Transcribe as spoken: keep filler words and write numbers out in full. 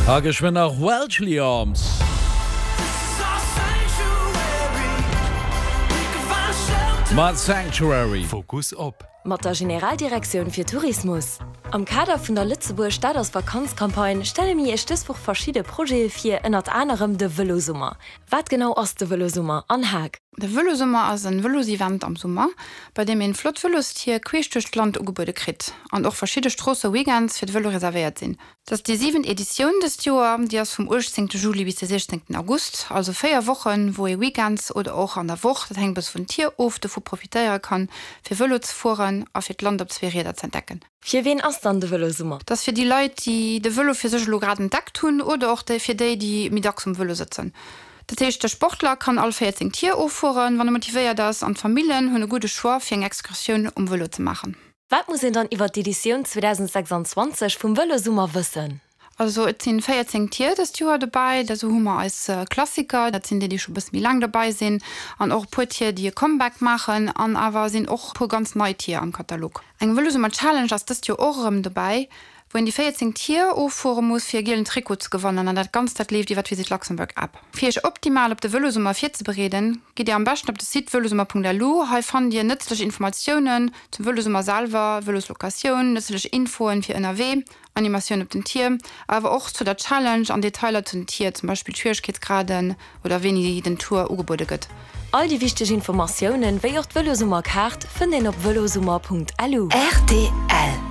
A geschwënn nach Welshly Arms. Mat Sanctuary. Fokus op. Mat der Generaldirektioun fir Tourismus. Am Kader vun der Lëtzebuerg, dat ass Vakanz-Campagne stelle mir Iech dës Woch verschidde Projete vir, ënnert anerem de Vëlosummer. Wat genau ass de Vëlosummer an Haag? De Vëlosummer ass en Vëlosevent am Summer, bei deem een flott Vëlostier queesch duerch d'Land ugebuede kritt an och verschidde Stroosse weekends fir de Vëlo reservéiert sinn. Dat ass déi siwent Editioun dëst Joer, déi ass vum uechtzéngte Juli bis de siechzéngten August, also véier Wochen, wou ee weekends oder och an der Woch, dat hänkt e bësse vun Tier of, dovu profitéiere kann, fir Vëlo ze fueren a fir d'Land op zwee Rieder ze entdecken. Fir ween ass dann de Vëlosummer? Dat ass fir déi Leit, déi de Vëlo fir sech elo grad entdeckt hunn oder och fir déi, déi méi dacks um Vëlo sëtzen. Dat heescht, de Sportler kann all véierzéng Tier offueren, wann e motivéiert ass, an d'Famillen hunn e gudde Choix, fir eng Excursioun um Vëlo ze maachen. Wat muss een dann iwwer d'Editioun zweedausendsechsanzwanzeg vum Vëlosummer wëssen? Also et sinn véierzéng Tier dëst Joer dobäi. Da sou hu mer eis Klassiker, dat sinn déi, déi scho bësse méi laang dobäi sinn, an och e puer Tier, déi e Comeback maachen, an awer sinn och e puer ganz nei Tier am Katalog. Eng Vëlosummer Challenge ass dëst Joer och erëm dobäi, wou een déi véierzéng Tier offuere muss, fir e gielen Trikot ze gewannen, an dat Ganzt dat leeft iwwer d'Visit Luxembourg App. Fir iech optimal op de Vëlosummer virzebereeden, gitt dir am beschten op de Site vëlosummer.lu. Hei fannt dir nëtzlech Informatiounen zum Vëlosummer selwer, Vëloslocatioun, nëtzlech Infoen fir ënnerwee, Animatioun op den Tier, awer och zu der Challenge an Detailer zu den Tier, zum Beispill d'Schwieregkeetsgraden oder wéini den Tour ugebuede gëtt. All déi wichteg Informatiounen, wéi och d'Vëlosummer-Kaart, fënnt een op vëlosummer.lu. Rtl.